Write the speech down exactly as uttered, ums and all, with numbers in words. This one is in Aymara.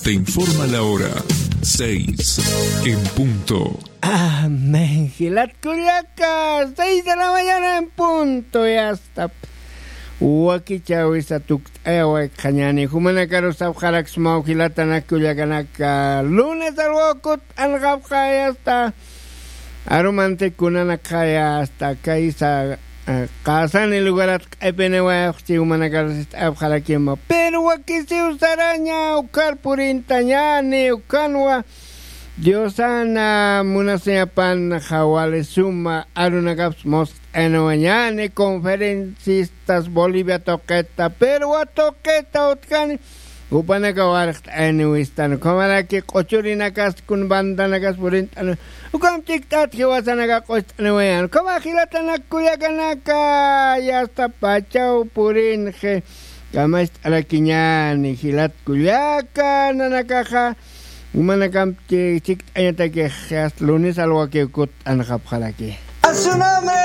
Te informa la hora, seis en punto. Amén. Jilat kullaka, seis de la mañana en punto, ya está. Wakichäwisa tukt'ayawaykañäni, jumanakaru sapxaraksmaw jilatanak kullakanaka, lunes alwakut anqapxa, ya está. Arumanti kunanakxaya hasta kaysa, eh, qasani lugarat q'ipiniwayapxchi, jumanakar sist'ayapxarakima. Pero wakisiw saraña ukhar purintañäni, ukhanwa Diosana munasiñapan jawali suma arunakaps must'ayniwañäni, conferencistas Bolivia tuqita, Perú tuqita utjani, jupanaka warxt'ayniwistan, ukhamaraki q'uchurinakas kun bandanakas purint'an, ukham chikt'at jiwasanaka q'ucht'aniwayan, ukhama jilatanak kullakanaka, yasta pachaw purinxi, kamacht'arakiñäni, jilat kullaka, nanakaxa, jumanakamp chikt'añatakix, yasta lunes alwakiw kutt'anxapxaraki. A su nombre.